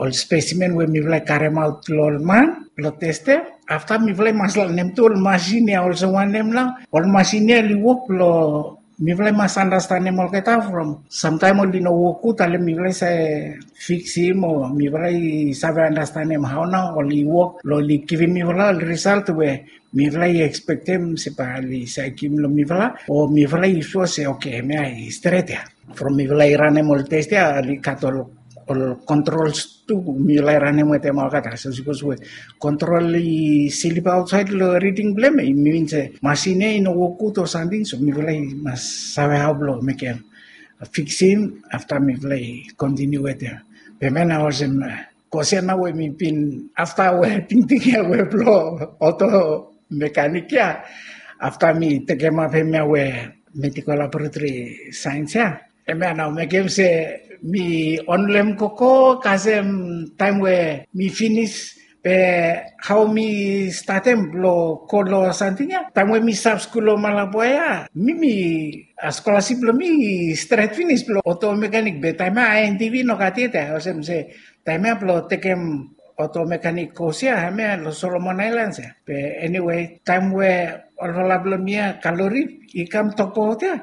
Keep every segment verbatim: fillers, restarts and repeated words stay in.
ol spesimen we mifala i karemaot long ol man long testem. Afta mifala i mas lanem tu ol masin ya olsem wanem nao ol masin ya oli wok long mifala i mas andastanem olgeta from samtaem oli no wok gud ale mifala i save fiksim o mifala i save andastanem hao nao oli wok long oli givim mifala ol risalt we mifala i ekspektem se bae oli save givim long mifala o mifala i sua se oke hemia i stret ya. From mifala i ranem ol test ya oli gat ol ol kontrols tu mifala i ranem wetem olgeta so sipos we kontrol i slip aotsaed long riding blong hem i min se masin ya i no wok gud o samting so mifala i mas save hao blong mekem fiksim afta mifala i kontiniu wetem. Be hemia nao olsem kos ya nao we mi bin afta we tingting ya we blong oto mekanik ya afta mi tekemap hemia we medikol laboratori saens ya. Hemia nao mekem se mi onlem koko kasem taem we mi finis be hao mi statem blong go long samting ya taem we mi stap skul long Malabo ya mi mi skolasip blong mi i stret finis blong oto mekanik be taem ya INTV no gat yet ya olsem se taem ya blong tekem oto mekanik kos ya hemia long Solomon Aelans ya. Be eniwe taem we olfala blong mi ya Kalori i kam tokbaot ya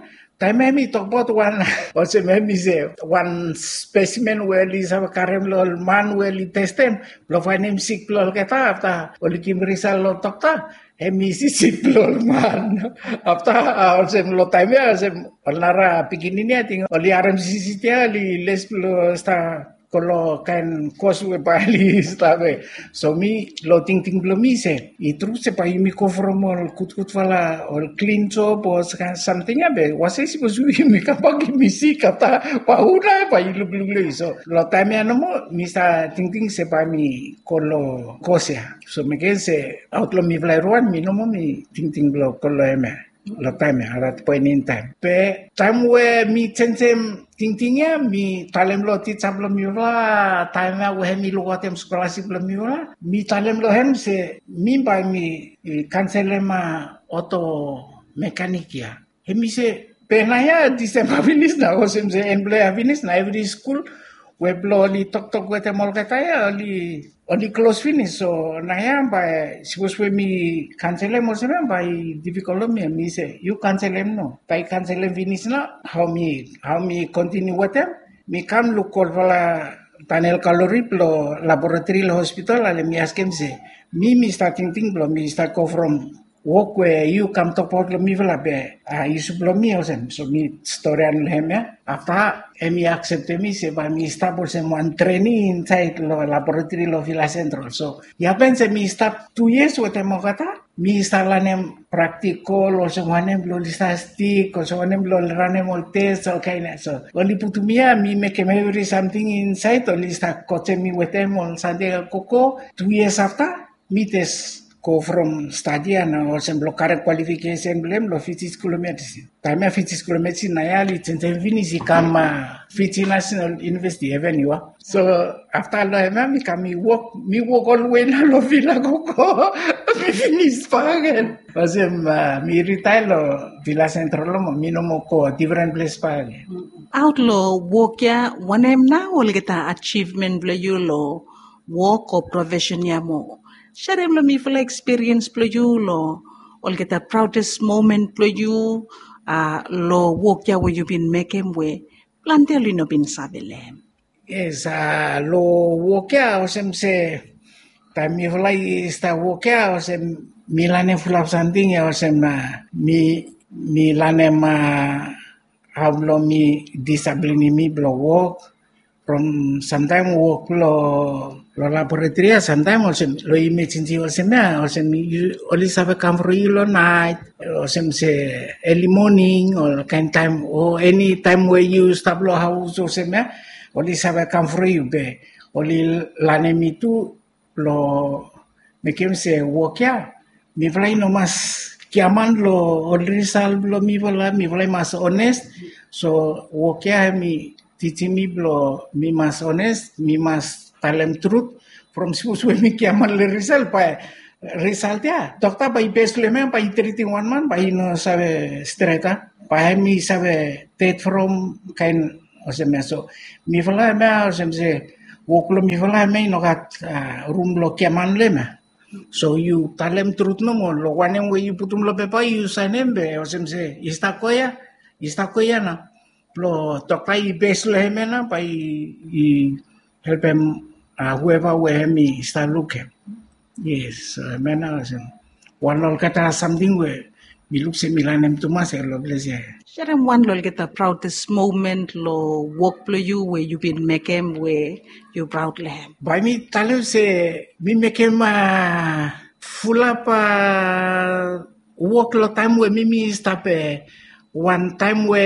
taem ya hem i tokbaot wan olsem hem i se wan spesimen we oli save karem long ol man we oli testem blong faenem sik blong olgeta afta oli givim risal long dokta hem i sisik blong ol man. Afta olsem long taem ya olsem ol nara pikinini ating oli harem sisik ya oli les blong sta go long kaen kos we bae oli stap ya. So mi long tingting blong mi se i tru se bae yumi go from ol gudgudfala ol klin jop o kaen samting ya be wase sipos yumi kambak yumi sik afta bae hu nao bae i lukluk long yu so long taem ya nomo mi stap tingting se bae mi go long kos ya. So mi ken se aot long mifala evriwan mi nomo mi tingting blong go long hem ya long taem ya arat poen in taem be taem we mi jenjem tingting ya mi talem long tija blong mifala taem ya we hem i lukaotem skolasip blong mifala mi talem long hem se mi bae mi kanselem oto mekanik ya. Hem i se be naoia Disemba finis na olsem se en blong ya finis na evri skul we blong oli toktok wetem olgeta ya oli oli klos finis so naoia bae sipos we mi kanselem olsem ya bae i difikol long mi mi se yu kanselem no bae i kanselem finis na hao mi hao mi kontiniu wetem. Mi kam luk olfala Daniel Kalori blong laboratori long hospital ale mi askem se mi mi stap tingting blong mi stap go from wok we yu kam tokbaot long mifala be a yu save long mi olsem so mi storian long hem ya. Afta hem i akseptem mi se bae mi stap olsem wan trening insaed long laboratori long Vila Sentral so i hapen se mi stap tu yias wetem olgeta mi stap lanem praktikol olsem wanem blong oli stap stik olsem wanem blong oli ranem ol tes olkaen ya so oli putum mi ya mi mekem evri samting insaed oli stap kojem mi wetem ol sande koko tu yias afta mi jes go from stadi ya na olsem blong karem kwalifikesen blong hem long Fiji Skul of Medicine. Taem ya Fiji Skul of Medicine na ya oli jenjem finis i kam Fiji National University Avenue ya. So afta long hem ya mi kam mi wok mi wok olwe na long Vila koko mi finis bakegen olsem mi ritae long Vila Sentral mo mi no moa go difren ples bakegen. Aot long wok ya wanem nao olgeta ajivmen blong yu long wok o profesen ya mo? Serem long mifala ekspiriens blong yu long olgeta praodes momen blong yu long wok ya we yu bin mekem we plante oli no bin save long hem. Yes, long wok ya olsem se taem mifala i stap wok ya olsem mi lanem fulap samting ya olsem mi mi lanem hao blong mi disaplinim mi blong wok from samtaem wok long long laboratori ya samtaem olsem long imejensi olsem ya olsem oli save kam from yu long naet olsem se eli moning o kaen taem o eni taem we yu stap long haos olsem ya oli save kam from yu be oli lanem mi tu blong mekem se wok ya mifala i no mas giaman long ol risal blong mifala mifala i mas ones. So wok ya hem i tijim mi blong mi mas ones mi mas talem trut from sipos we mi giaman long risal bae risal ya dokta bae i bes long hem ya bae i tritim wan man bae i no save stret a bae hem i save ded from kaen olsem ya so mifala hem ya olsem se wok blong mifala em ya i no gat rum blong giaman long em ya. So yu talem trut nomo long wanem we yu putum long pepa yu sainem be olsem se i stap go ya, i stap go ya nao. Blong dokta i bes long em ya nao bae i helpem hueva we hem i stap lukim. Yes, so em ya nao olsem wan long olgeta samting we mi luk se mi lanem tumas ya long ples ya. Serem wan long olgeta proudest moment long wok blong yu we yu bin mekem we yu praud long hem. Bae mi talem se mi mekem fulap wok long taem we mi mi stap wan taem we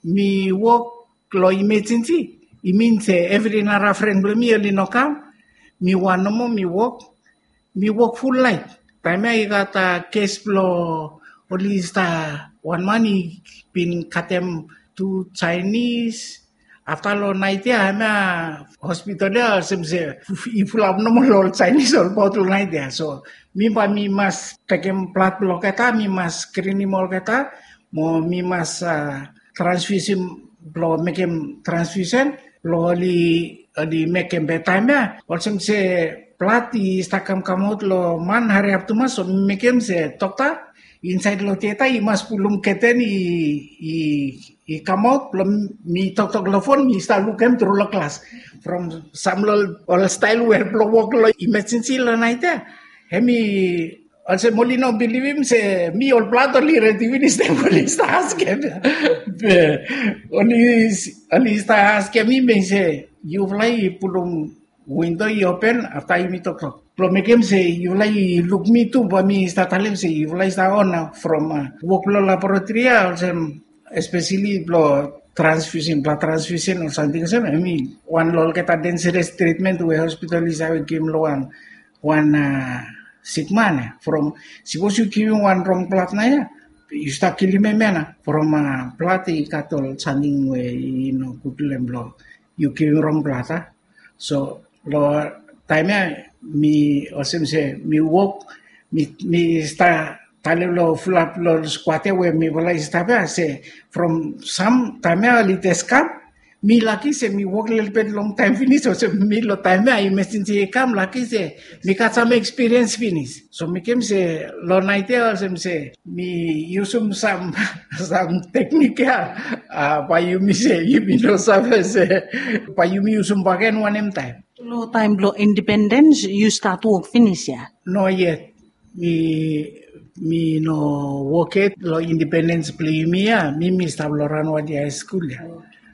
mi wok long imejensi. I min se evri nara fren blong mi oli no kam. Mi wan nomo mi wok, mi wok ful laet. Taem ya i gat kes blong oli stap wan man i bin katem tu Jaenis. Afta long naet ya hem ya hospital ya olsem se i fulap nomo long ol Jaenis olbaot long naet ya. So mi bae mi mas tekem blad blong olgeta, mi mas skrinim olgeta, mo mi mas transfiusim blong mekem transfiusen blong oli mekem be taem ya olsem se blad i stap kamkamaot long man hariap tumas, so mi mekem se dokta insaed long tieta i mas pulum keten i i kamaot blong mi toktok long fon mi stap lukim tru long glas. From sam long ol stael we blong wok long imejensi long naet ya, hem i olsem oli no bilivim se mi ol blad oli redi finis taem oli stap askem. Be oli oli stap askem mi be se yufala i pulum windo i open afta yumi toktok blong mekem se yufala i luk mi tu bae mi stap talem se yufala i stap on nao from wok long laboratori ya olsem espeseli blong transfiusen, blad transfiusen o samting olsem em i wan long olgeta denseres tritmen we hospital i save givim long wan wan sikman ya. From sipos yu givim wan rong blad nao ya yu stap kilim em ya nao from blad i gat ol samting we i no gud long em blong yu givim rong blad a. So long taem ya mi olsem se mi wok mi mi stap talem long fulap long skuat ya we mifala i stap ya se from sam taem ya oli jes kam. Mi laki se mi wok lelebet longtaem finis olsem mi long taem ya imejensi i kam laki se mi gat sam ekspiriens finis. So mekem se long naet ya olsem se mi yusum sam sam teknik ya. Bae yumi se yumi no save se bae yumi yusum bakegen wanem taem. Long taem blong indipendens yu stat wok finis ya? No yet. Mi mi no wok yet long indipendens blong yumi ya. Mi mi stap long Ranwadi High School ya.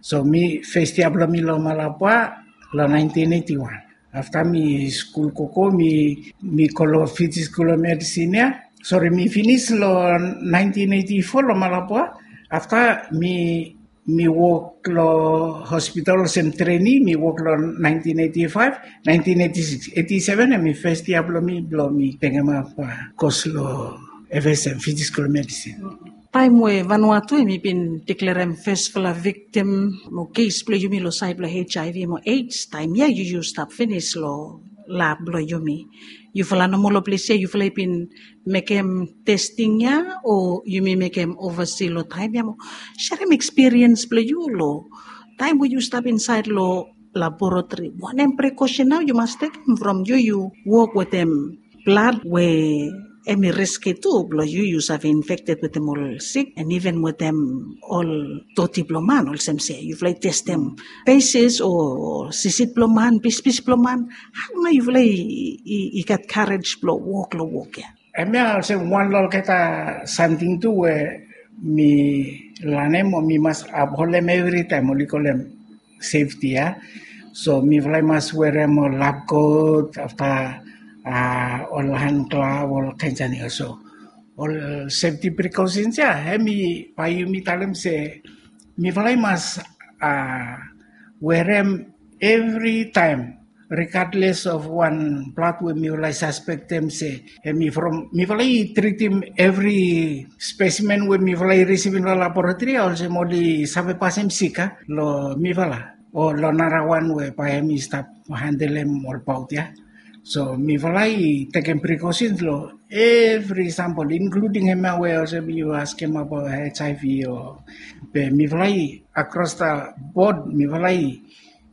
So mi fes yia blong mi long Malabwa long nineteen eighty one. Afta mi skul koko mi mi go long Fiji School of Medicine ya. Sori, mi finis long nineteen eighty four long Malabwa. Afta mi mi wok long hospital olsem treni, mi wok long nineteen eighty five, nineteen eighty six, eighty seven em i fes yia blong mi blong mi tekemap kos long F S M, Fiji School of Medicine. Taem we Vanuatu em i bin deklerem fesfala viktim mo kes blong yumi long saed blong H I V mo AIDS, taem ya yu yu stap finis long lab blong yumi. Yufala nomo long ples ya yufala i bin mekem testing ya o yumi mekem ovasi long taem ya mo serem ekspiriens blong yu long taem we yu stap insaed long laboratori? Wanem prekosen nao yu mas tekem from yu yu wok wetem blad we em i riski tu blong yu yu save infekted wetem ol sik and iven wetem ol doti blong man olsem se yufala i testem pesis o sisit blong man, pispis blong man? Hao nao yufala i gat karej blong wok long wok ya? Hemia olsem wan long olgeta samting tu we mi lanem o mi mas apholem evritaem oli kolem sefti ya. So mifala i mas werem ol lab kot afta ol han glav ol kaen samting ya. So ol sefti prekosens ya hem i bae yumi talem se mifala i mas werem evritaem regardless of wan blad we mifala i saspektem se hem i from mifala i tritim evri spesimen we mifala i risivim long laboratori ya olsem oli save pasem sik a long mifala o long narawan we bae hem i stap handelem olbaot ya. So mifala i tekem prekosens long evri sampol inkluding hemia we olsem yu askem abaot H I V o be mifala i akros da bod mifala i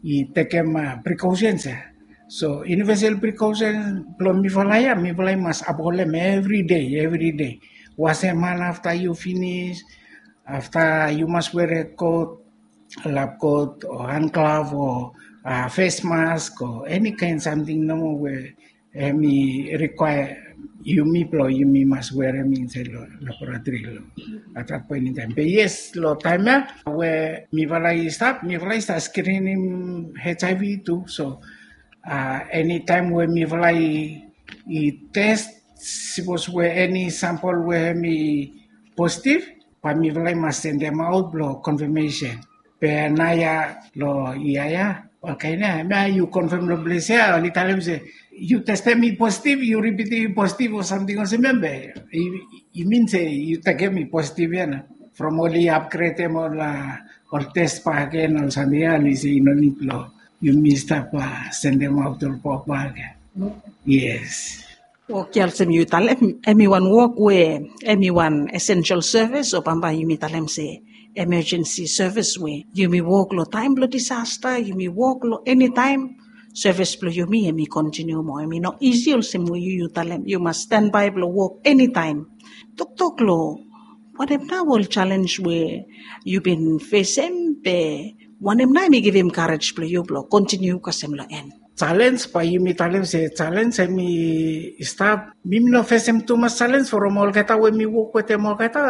i tekem precautions ya. So universal precaution blong mifala ya, mifala i mas upholdem everyday, everyday. Wasem han afta yu finis, afta yu mas were kot, lab kot o han glove o face mask o eni kaen samting nomo we hem i rikwaea yumi blong yumi mas werem insaed long laboratori long at that point in time. Be yes, long taem ya we mifala i stap, mifala i stap skrinim HIV tu. So eni taem we mifala i tes, sipos we eni sampol we hem i positiv, bae mifala i mas sendemaot blong konfamesen. Be naoia long yia ya, olkaen ya, hemia yu konfam long ples ya, oli talem se yu testem i positiv, yu ripitim i positiv o samting olsem ya, be i min se yu tekem i positiv ya nao. From oli apgredem ol tes bakegen ol samting ya, oli se i no nid blong yumi stap sendemaot ol wok bakegen. Yes. Wok ya olsem yu talem, hem i wan wok we hem i wan essential service, o bambae yumi talem se emergency service, we yumi wok long taem blong disasta, yumi wok long eni taem. Sevis blong yumi hem i kontiniu moa, hem i no isi olsem we yu yu talem yu mas stanbae blong wok eni taem. Toktok long wanem nao ol jalenj we yu bin fesem, be wanem nao hem i givim karej blong yu blong kontiniu kasem long en? Jalenj, bae yumi talem se jalenj hem i stap. Mi mi no fesem tumas jalenj from olgeta we mi wok wetem olgeta,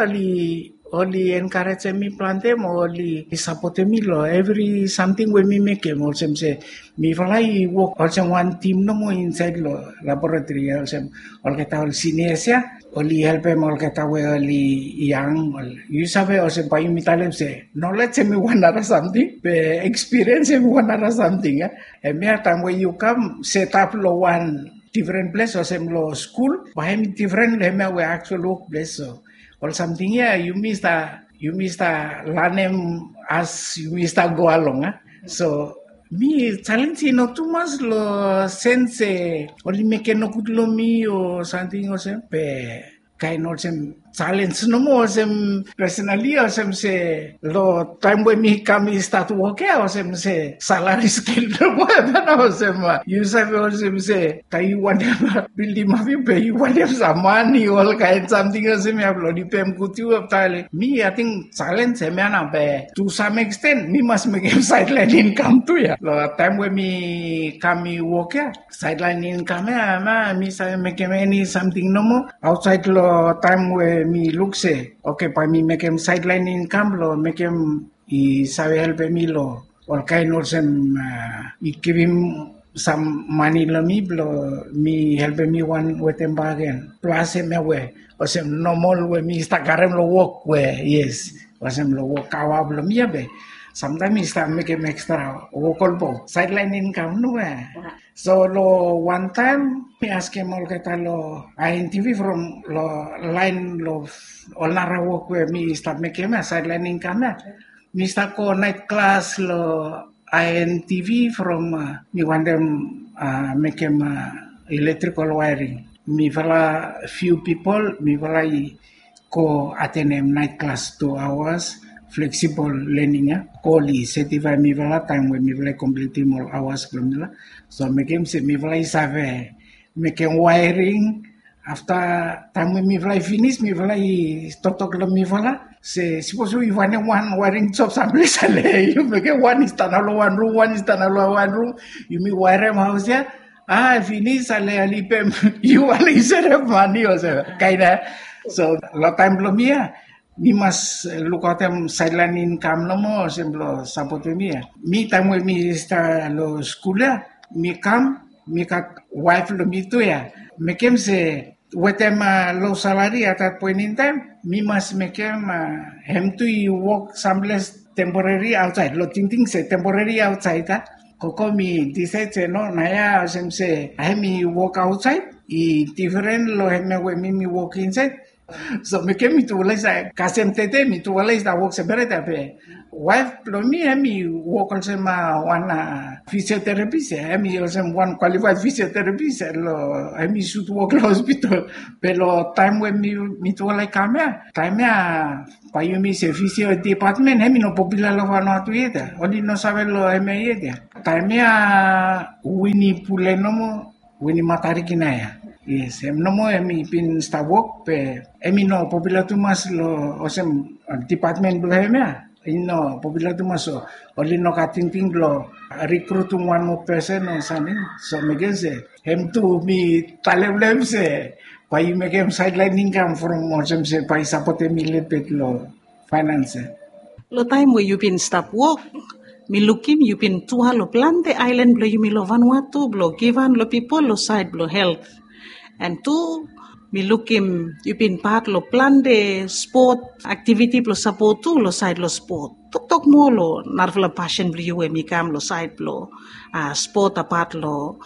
oli enkarejem mi plante mo oli sapotem mi long evri samting we mi mekem. Olsem se mifala i wok olsem wan tim nomo insaed long laboratori ya, olsem olgeta ol sinias ya, oli helpem olgeta we oli yang. Yu save, olsem bae yumi talem se nolej hem i wan nara samting, be ekspiriens hem i wan nara samting ya. Hemia taem we yu kam setap long wan difren ples olsem long skul, bae hem i difren long hemia we aktual wokples. So ol samting ya yumi stap, yumi stap lanem as yumi stap go along a. So mi jalenj i no tumas long sens se oli mekem nogud long mi o samting olsem, be kaen olsem jalenj nomo olsem, personali olsem se long taem we mi kam mi stat wok ya, olsem se salari skel nomo ya nao, olsem yu save olsem se taem yu wantem bildim ap yu, be yu wantem sam mane, olkaen samting olsem ya blong ripem gud yu, afta mi ating jalenj hemia nao, be tu sam eksten mi mas mekem saedlaen inkam tu ya long taem we mi kam mi wok ya. Saedlaen inkam ya, mi save mekem eni samting nomo aotsaed long taem we mi luk se oke, bae mi mekem saedlaen inkam blong mekem i save helpem mi long olkaen olsem i givim sam mane long mi blong mi helpem mi wan wetem bakegen. Plas hemia we olsem nomol we mi stap karem long wok we, yes, olsem long wok aoa blong mi ya, be samtaem mi stap mekem ekstra wok olbaot, saedlaen inkam nomo ya. So long wan taem mi askem olgeta long INTV from long laen long ol nara wok we mi stap mekem ya, saedlaen inkam ya. Mi stap go naet klas long INTV from mi wantem mekem electrical wiring. Mifala fiu pipol, mifala i go atenem naet klas tu aoas, fleksibol lening ya, go oli setifaem mifala taem we mifala i komplitim ol aoas blong mifala. So mekem se mifala i save mekem waering. Afta taem we mifala i finis, mifala i toktok long mifala se sipos we yu wantem wan waering jop samples, ale yu mekem wan i stap nao long wan rum, wan i stap nao long wan rum, yumi waerem haos ya. A finis, ale oli pem yu, ale yu serem mane olsem kaen ya. So long taem blong mi ya, mi mas lukaotem saedlaen inkam nomo olsem blong sapotem mi ya. Mi taem we mi stap long skul ya, mi kam, mi gat waef blong mi tu ya. Mekem se wetem lo salari at that point in time, mi mas mekem hem tu i wok samples temporeri aotsaed, long tingting se temporeri aotsaed a. Gogo mi disaed se no, naoia olsem se hem i wok aotsaed i difren long hemia we mi mi wok insaed. So mekem mitufala i save kasem tede, mitufala i stap wok seperet ya, be waef blong mi hem i wok olsem wan fisioterapis ya, hem i olsem wan kwalifaed fisioterapis ya, long hem i sud wok long hospital. Be long taem we mitufala i kam ya, taem ya bae yumi se fisio dipatmen hem i no popula long Vanuatu yet ya, oli no save long hemia yet ya. Taem ya Wini Pule nomo, Wini Matarikina ya. Yes, hem nomo hem i bin stap wok be hem i no popular tumas lo olsem dipatmen blo hem ya. I no popular tumas, so oli no gat tingting blo rekrutum wan moa pesen o samting. So mekem se hem tu mi talem lo hem se bae i mekem saedlaen inkam from olsem se bae i sapotem mi lelebet lo faenans ya. Lo taem we yu bin stap wok, mi lukim yu bin tua lo plante aelan blo yumi lo Vanuatu blo givhan lo pipol lo saed blo helt. An tu mi lukim yu bin pat lo plante spot aktiviti blo sapot tu lo saed lo spot. Toktok moa lo narafala pasen blo yu we mi kam lo saed blo spot apat lo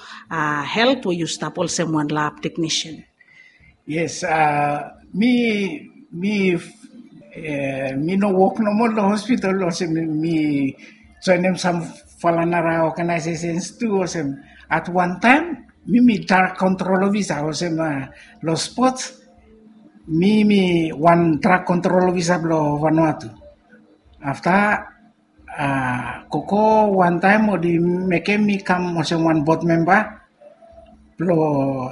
helt we yu stap olsem wan lab teknisian. Yes, mi mi mi no wok nomo lo hospital olsem mi joenem samfala nara organisations tu olsem at wan taem mi mi drag kontrol ofisa olsem lo spot mi mi wan drag kontrol ofisa blo Vanuatu. Afta gogo wan taem oli mekem mi kam olsem wan bot memba blo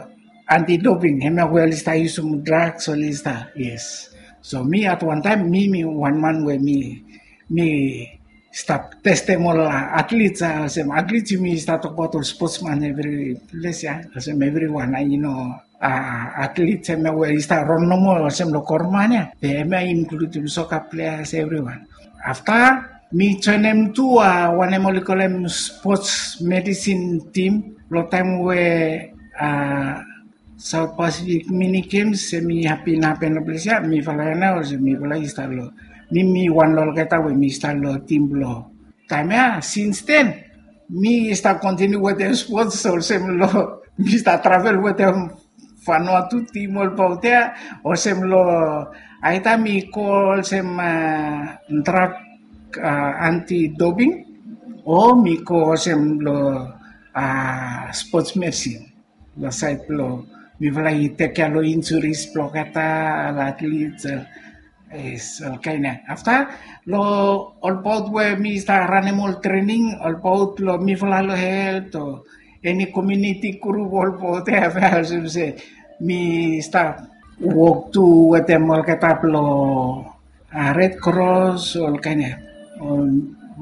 anti doping, hemia we oli stap yusum draks oli stap. Yes, so mi at wan taem mi mi wan man we mi mi stap testem ol atlits olsem atlits yumi stap tokbaot ol spotsman evri ples ya olsem evriwan i no atlits hemia we i stap ron nomo olsem lo gavman ya be hemia i inkludim soka pleas evriwan. Afta mi joenem tu wanem oli kolem spots medisin tim lo taem we South Pacific Mini Games hemi hapen hapen lo ples ya mifala ya nao olsem mifala i stap lo mi mi wan lo olgeta we mi stap lo tim blo taem ya sins den mi stap kontiniu wetem spots olsem lo mi stap travel wetem Vanuatu tim olbaot ya olsem lo aeta mi go olsem drak anti doping o mi go olsem lo spots medsin lo saed blo mifala i tekia lo injuris blo olgeta lo atlits. Yes, olkaen ya afta lo olbaot we mi stap ranem ol trening olbaot lo mifala lo helt o eni komiuniti grup olbaot ya olsem se mi stap wok tu wetem olgeta blo Red Cross olkaen ya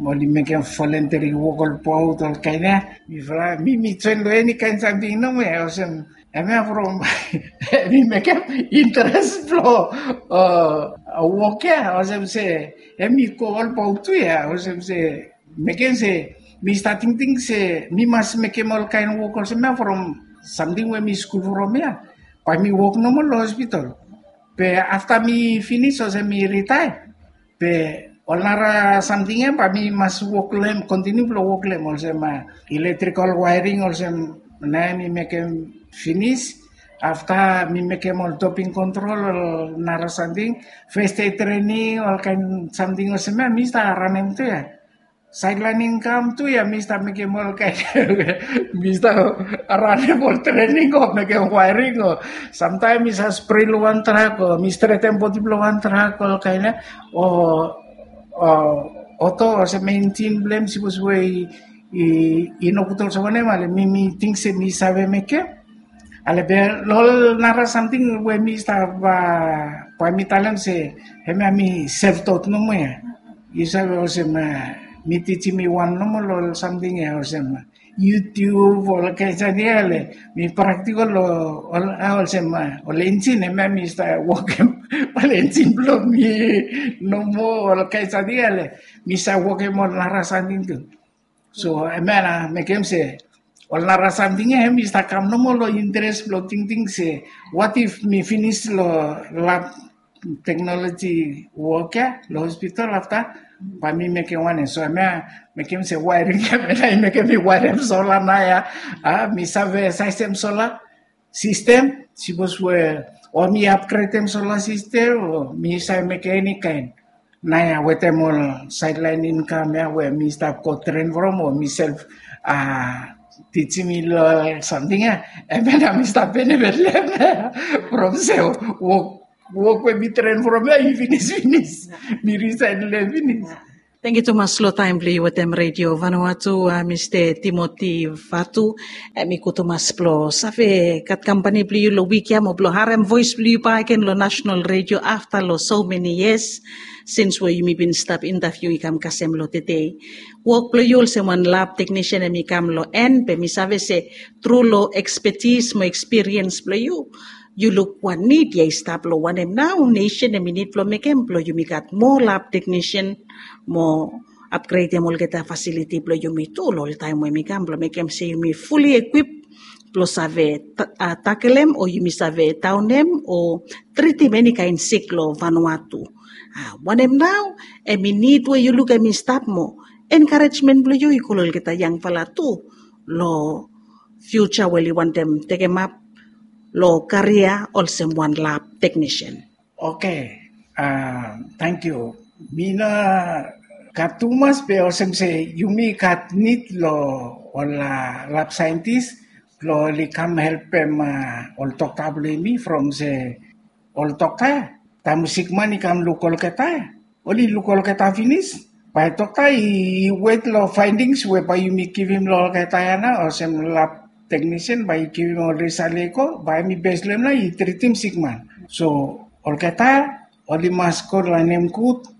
oli mekem voluntary wok olbaot olkaen ya. Mifala mi mi joen lo eni kaen samting nomo ya olsem hemia from mi mekem interes blo wok ya olsem se hemi go olbaot tu ya olsem se mekem se mi stap tingting se mi mas mekem olkaen wok olsem ya from samting we mi skul from ya bae mi wok nomo lo hospital. Be afta mi finis olsem mi ritae be ol nara samting ya bae mi mas wok lo hem kontiniu blo wok lo hem olsem iletrikol waering olsem nae mi mekem finis. Afta mi mekem ol doping kontrol ol nara samting fes dei trening olkaen samting olsem ya mi stap ranem tu ya saedlaen inkam tu ya mi stap mekem olkaen mi stap ranem ol trening o mekem waering o samtaem mi sa spre lo wan trak o mi stretem bodi blo wan trak olkaen ya o oto olsem enjin blo hem sipos we i no gud olsem wanem ale mi mi ting se mi save mekem. Ale be lo ol nara samting we mi stap bae mi talem se hemia mi self taught nomo ya. Yu save olsem mi tijim mi wan nomo lo ol samting ya olsem YouTube ol kaen samting ya ale mi praktikol lo ol olsem ol enjin hemia mi stap wokem ol enjin blo mi nomo ol kaen samting ya ale mi save wokem ol nara samting tu. So hemia na mekem se ol nara samting ya hem i stap kam nomo lo interes blo tingting se wat if mi finis lo lab teknoloji wok ya lo hospital afta bae mi mekem wanem. So hemia mekem se waering ya hemia na i mekem mi waerem sola nao ya. A mi save saesem sola sistem sipos we o mi apgredem sola sistem o mi save mekem eni kaen. Nao ya wetem ol saedlaen inkam ya we mi stap go tren from o mi self a tijim mi lo ol samting ya. Hemia nao mi stap benefit lo hem nao ya from se wok wok we mi tren from ya i finis finis mi risaen lo hem finis. Tangkiu tumas long taem blong yu wetem Redio Vanuatu, Mista Timoti Vatu. Em i gud tumas blong save gat kampani blong yu long wik ya mo blong harem voes blong yu bakegen long nasenal redio afta long so meni yias sins we yumi bin stap intaviu i kam kasem long tede. Wok blong yu olsem wan lab teknisian em i kam long en, be mi save se tru long ekspetis mo ekspiriens blong yu, yu luk wan nid ya i stap long wanem nao nesen em i nid blong mekem blong yumi gat moa lab teknisian mo apgredem olgeta fasiliti blong yumi tu long ol taem we mi kam blong mekem se yumi fuli ekwip blong save takelem o yumi save daonem o tritim eni kaen sik long Vanuatu. Wanem nao em i nid we yu luk em i stap mo enkarejmen blong yu i go long olgeta yangfala tu long fiuja we oli wantem tekemap long karia olsem wan lab teknisian. Oke, tangkiu. Mi no gat tumas be olsem se yumi gat nid long ol lab saentis blong oli kam helpem ol dokta blong yumi from se ol dokta ya taem sikman i kam luk olgeta ya oli luk olgeta finis, bae dokta i wet long faendings we bae yumi givim long olgeta ya nao olsem lab teknisian bae i givim ol risal ya i go bae hem i bes long hem nao i tritim sikman. So olgeta oli mas go lanem gud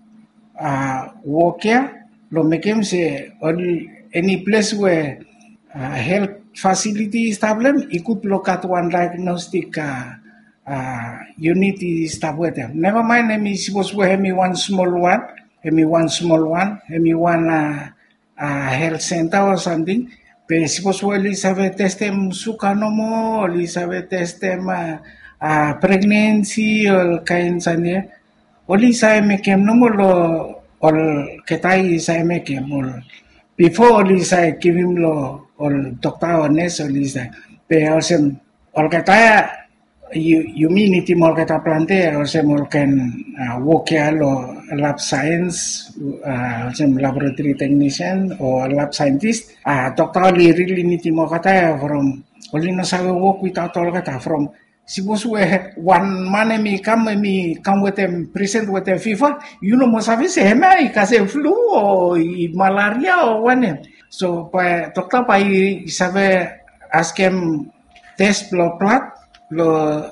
wok ya blong mekem se ol eni ples we helt fasiliti i stap long hem i gud blong gat wan daegnostik yunit i stap wetem. Nevamaen hem i sipos we hem i wan smol wan, hem i wan smol wan, hem i wan helt senta o samting, be sipos we oli save testem suga nomo, oli save testem pregnensi, ol kaen sani ya oli save mekem nomo long olgeta i save mekem ol bifo oli save givim long ol dokta o nes oli save. Be olsem olgeta ya yumi nidim olgeta plante olsem ol kaen wok ya long lab saens, olsem laboratori teknisian o lab saentis. Dokta oli rili nidim olgeta ya from oli no save wok witaot olgeta from sipos we wan man hem i kam hem i kam wetem prisen wetem fiva, yu no moa save se hem ya i kasem flu o i malaria o wanem. So bae dokta bae i save askem tes blong blad blong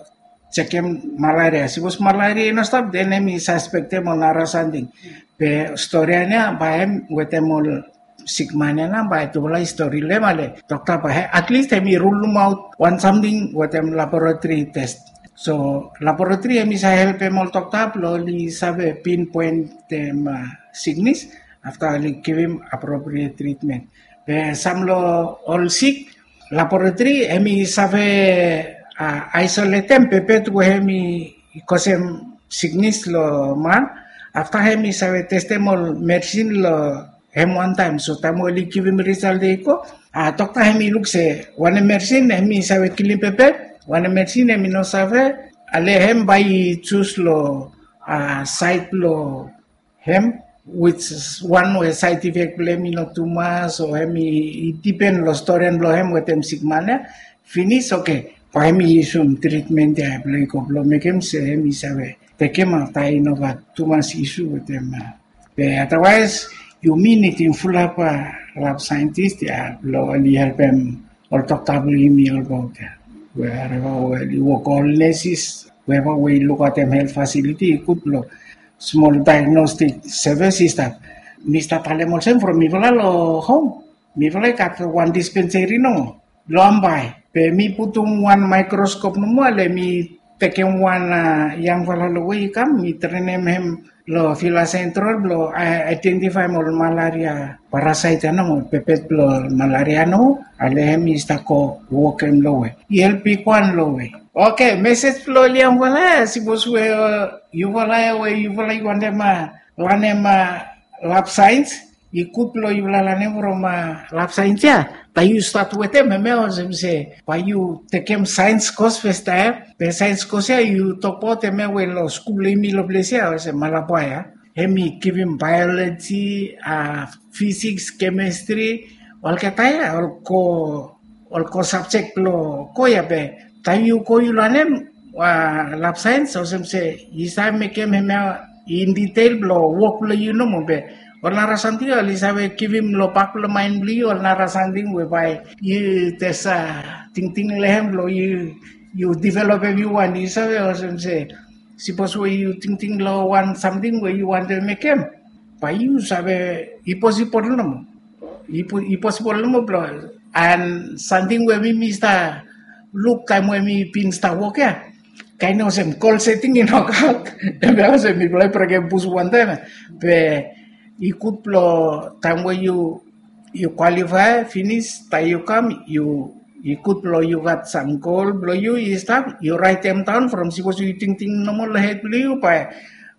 jekem malaria. Sipos malaria i no stap den hem i saspektem ol nara samting. Be stori ya nao bae hem wetem ol sikman ya nao bae tufala i stori long hem ale dokta bae atlis hem i rulumaot wan samting wetem laboratori tes. So laboratori hem i save helpem ol dokta blong oli save pinpoentem siknis afta oli givim apropriet tritmen. Be sam long ol sik laboratori hem i save aisoletem pepet we hem i kosem siknis long man. Afta hem i save testem ol meresin long hem wantaem. So taem we oli givim risal ya i go, dokta hem i luk se wanem meresin hem i save kilim pepet, wanem meresin hem i no save. Ale hem bae i jus long saed blong hem, wits wan we saed ifek blong hem i no tumas o hem i dipen long storian blong hem wetem sikman ya. Finis oke, bae hem i yusum tritmen ya blong i go blong mekem se hem i save tekem afta i no gat tumas isu wetem. Be adawaes yumi nidim fulap lab saentis ya blong oli helpem ol dokta blong yumi olbaot ya. Wereva we oli wok ol nesis, weva we i lukaotem helt fasiliti i gud blong smol daegnostik sevis i stap. Mi stap talem olsem from mifala long hom mifala i gat wan dispenseri nomo long ambae. Be mi putum wan maekroskop nomo ale mi tekem wan yangfala long we i kam mi trenem hem long Vila Sentral blong aedentifaem ol malaria parasaet ya nomo, pepet blong malaria nomo, ale hem i stap go wokem long we i help bigwan long we. Oke, mesej blong ol yangfala ya sipos we yufala ya we yufala i wantem lanem lab saens, i gud blong yufala lanem from lab saens ya. Bae yu stat wetem hemia olsem se bae yu tekem saens kos fastaem. Be saens kos ya yu tokbaot hemia we long skul blong yumi long ples ya olsem Malabwa ya, hem i givim baeoloji, fisiks, kemistri, olgeta ya ol ko ol ko sabjek blong ko ya. Be taem yu go yu lanem lab saens olsem se i save mekem hemia in ditel blong wok blong yu nomo. Be Ol nara samting oli save givim long bak blong maen blong yu, ol nara samting we bae yu jes tingting long hem blong yu, yu developem yu wan, yu save olsem se, sipos we yu tingting long wan samting we yu wantem mekem, bae yu save i posibol nomo. I posibol nomo blong, and samting we mi mi stap luk taem we mi bin stap wok ya, kaen olsem gol seting i nokaot. Hemia olsem mifala i brekem bus wantaem. Be i gud blong taem we yu, yu kwalifae finis, taem yu kam, yu, i gud blong yu gat sam gol blong yu i stap, yu raetem daon from sipos yu tingting nomo long hed blong yu, bae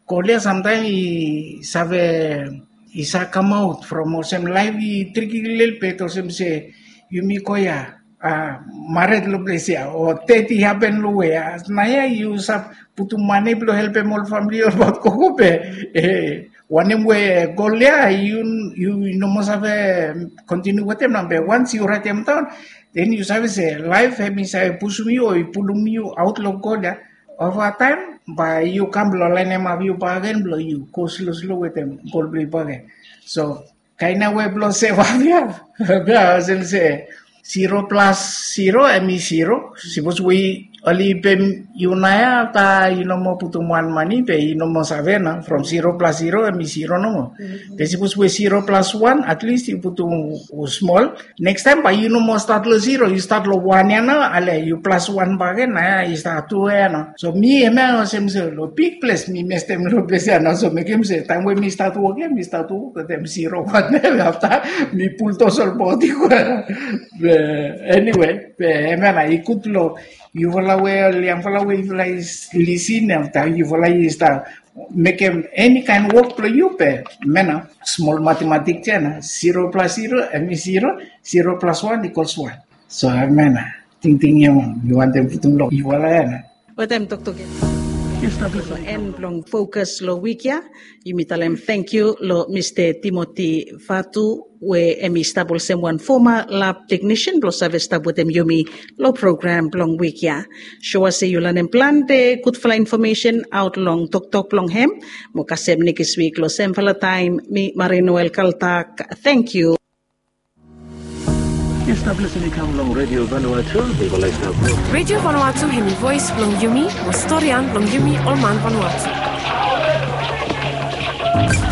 gol ya samtaem i save, i save kamaot from olsem laef i triki lelebet olsem se yumi go ya, a, mared long ples ya o ded i hapen long we ya. Naoia yu save putum mane blong helpem ol famili olbaot gogo be, e, wanem we gol ya yu, yu no moa save kontiniu wetem nao be wans yu raetem daon, den yu save se laef hemi save pusum yu o i pulum yu aot long gol ya. Ova taem bae yu kam blong laenemap yu bakegen blong yu go slo slo wetem gol blong yu bakegen. So kaen nao we blong sevap ya, be olsem se ziro plas ziro hemi ziro. Sipos we oli pem yu naoia afta yu no moa putum wan mane be yu no moa save nao, from ziro plas ziro hemi ziro nomo. Be sipos we ziro plas wan, atlis yu putum smol. Nekstaem bae yu no moa stat long ziro, yu stat long wan ya nao, ale yu plas wan bakegen, naoia i stap tu ya nao. So mi hemia olsem se long big ples mi mestem long ples ya nao, so mekem se taem we mi stat wok ya mi stat wok wetem ziro wan ya, afta mi puldos ol bodi go ya. Be eniwe, be hemia nao i gud long yufala we ol yangfala we yufala i lisin, afta yufala i stap mekem eni kaen wok blong yu be hemia nao smol matematik ya nao, ziro plas ziro hemi ziro, ziro plas wan ikols wan. So hemia nao tingting ya mi wantem putum long yufala ya nao. Wetem toktok ya en blong fokas long wik ya, yumi talem tangkiu long Mista Timoti Vatu we hemi stap olsem wan foma lab teknisian blong save stap wetem yumi long program blong wik ya. Soa se yu lanem plante gudfala infomesen aot long toktok blong hem. Mo kasem nekis wik long semfala taem, mi Marie Noel Kaltak. Tangkiu. Yu stap lisin i kam long Redio Vanuatu. Yufala i stap. Redio Vanuatu hemi voes blong yumi, mo storian blong yumi ol man Vanuatu.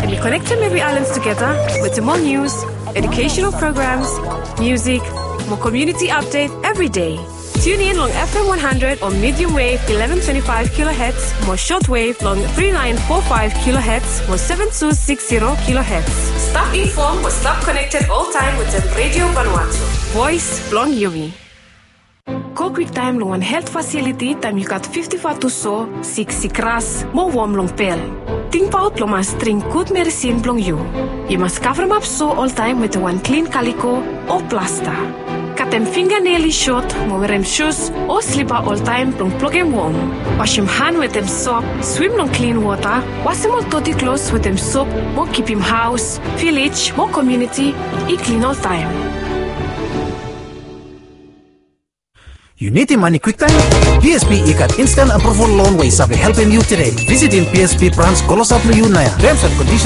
Hemi konektem evri aelan tugeta wetem ol nius, educational programs, musik, mo community update evri dei. Tune in long F M one hundred o medium wave eleven twenty-five kilohertz mo short wave long three nine four five kilohertz mo seven two six zero kilohertz. Stap infom mo stap konekted oltaem wetem Redio Vanuatu, voes blong yumi. Go kwiktaem long wan helt fasiliti taem yu gat fifti-fa tu so, sik sikras mo wom long pel. Tingbaot blong mas dring gud medisin blong yu. Yu mas kavremap so oltaem wetem wan klin kaliko o plasta. Katem finganel i sot mo werem sus o slipa oltaem blong blokem wom. Wasem han wetem sop, swim long klin wota, wasem ol doti klos wetem sop mo kipim haos, vilej mo komuniti i klin oltaem. Yu nidim mane kwiktaem? P S B i gat instan aproval lon we i save helpem yu tede. Visitim P S B brans klosap long yu naoia. Terms and conditions